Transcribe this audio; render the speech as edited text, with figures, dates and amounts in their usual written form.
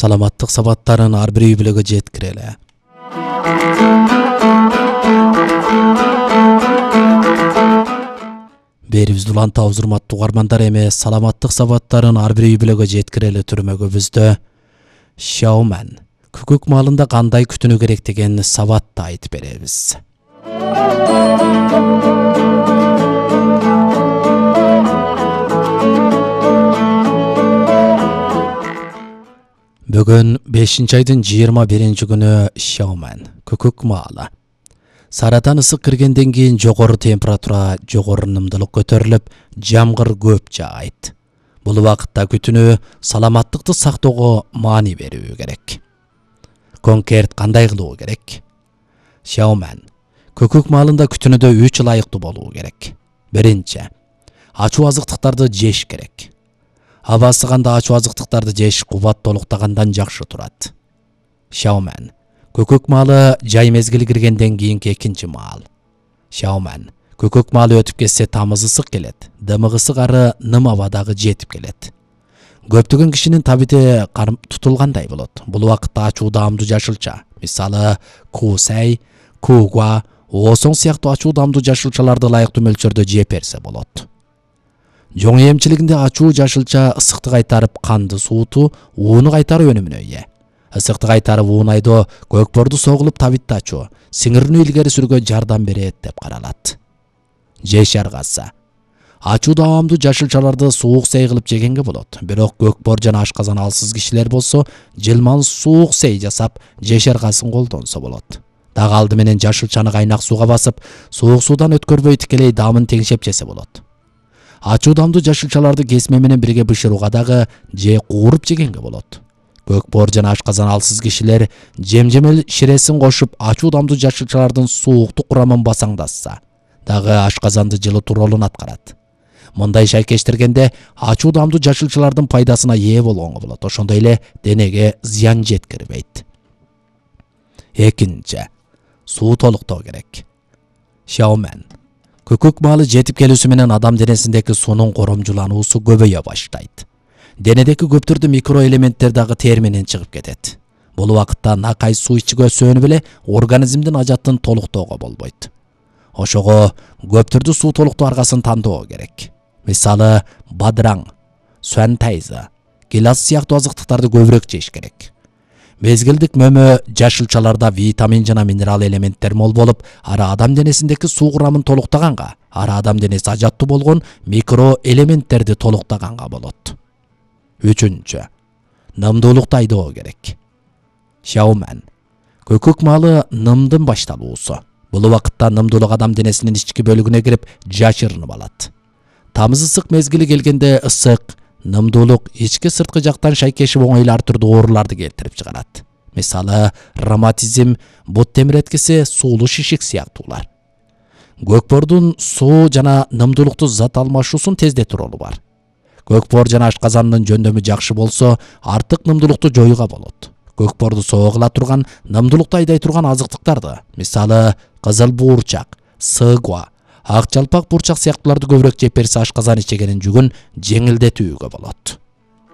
саламаттык сабаттарын ар бир үй бүлөгө жеткирели. Берибизди улантабыз урматтуу угармандар, эми саламаттык сабаттарын ар бир үй бүлөгө жеткирели түрмөгүбүздө Xiaoman күкүк маалында кандай күтүнүү керек деген сабатты айтып беребиз. Бүгүн 5-айдын 21-күнү Xiaoman күкүк маалы. Сарадан ысык киргенден кийин жогору температура, жогору нымдылык көтөрүлүп, жамгыр көп жаайт. Бул убакытта күтүнүү саламаттыкты сактоого маани берүү керек. Конкрет кандай кылуу керек? Xiaoman күкүк маалында күтүнүдө 3 ылайыктуу болуу керек. Биринчи, ачуу азыктыктарды жеш керек. Аба ысыганда ачуу азыктыктарды жеш кубат толуктагандан жакшы турат. Xiaoman күкүк маалы жай мезгили киргенден кийинки экинчи маал. Xiaoman күкүк маалы өтүп кетсе тамыз ысык келет, дымык ысык ары ным абадагы жетип келет. Көптөгөн кишинин табити тутулгандай болот. Бул убакытта ачуу даамдуу жашылча, мисалы кусай, кугуа, оосоң сыяктуу ачуу даамдуу жашылчаларды ылайыктуу мөлчөрдө жеп берсе болот. Жоң эмчилигинде ачуу жашылча ысыкты кайтарып, канды сууту, ууну кайтарып өнүмүнө ээ. Ысыкты кайтарып уунайдо көкпорду согулуп табитти ачуу, сиңирүүнү илгери сүргө жардам берет деп каралат. Жеш аргасы. Ачуу даамдуу жашылчаларды суук сей кылып жегенге болот. Бирок көкпор жана ашказан алсыз кишилер болсо, жылман суук сей жасап, жеш аргасын колдонсо болот. Дагы алды менен жашылчаны кайнак сууга басып, суук суудан өткөрбөй тикелей даамын теңшеп жесе болот. Ачуу даамдуу жашылчаларды кесме менен бирге бышырууга дагы же кууруп жегенге болот. Көкпор жана ашказан алсыз кишилер жемжемел ширесин кошуп, ачуу даамдуу жашылчалардын сууктук курамын басаңдатса, дагы ашказанды жылытуу ролун аткарат. Мындай шайкештиргенде ачуу даамдуу жашылчалардын пайдасына ээ болгонго болот, ошондой эле денеге зыян жеткирбейт. Экинчи, суу толуктоо керек. Xiaoman күкүк маалы жетип келүүсү менен адам денесиндеки суунун коромжулануусу көбөйө баштайт. Денедеки көптөрдү микроэлементтер дагы тер менен чыгып кетет. Бул убакытта накай суу ичүүгө сөнүп эле организмдин ажатын толуктоого болбойт. Ошого көптөрдү суу толуктоо аргасын тандоо керек. Мисалы бадыраң, суантайзы, гилас сыяктуу азыктыктарды көбүрөөк жеш керек. Мезгилдик мөмө жашылчаларда витамин жана минерал элементтер мол болуп, ары адам денесиндеки суу курамын толуктаганга, ары адам денеси ажаттуу болгон микроэлементтерди толуктаганга болот. Үчүнчү, нымдуулукту айдоо керек. Xiaoman күкүк маалы нымдын башталуусу. Бул убакытта нымдуулук адам денесинин ички бөлүгүнө кирип, жашырынып алат. Тамыз ысык мезгили келгенде ысык, нымдуулук ички сырткы жактан шайкешип оңой эле ар түрдүү ооруларды келтирип чыгарат. Мисалы роматизм, бут темиреткиси, суулуу шишик сыяктуулар. Көкпордун суу жана нымдуулукту зат алмашуусун тездетүү ролу бар. Көкпор жана ашказандын жөндөмү жакшы болсо, артык нымдуулукту жоюуга болот. Көкпорду согула турган, нымдуулукту айдай турган азыктыктарды, мисалы кызыл буурчак, сыгуа, ак жалпак буурчак сыяктууларды көбүрөөк жеп берсе ашказан ичегенин жүгүн жеңилдетүүгө болот.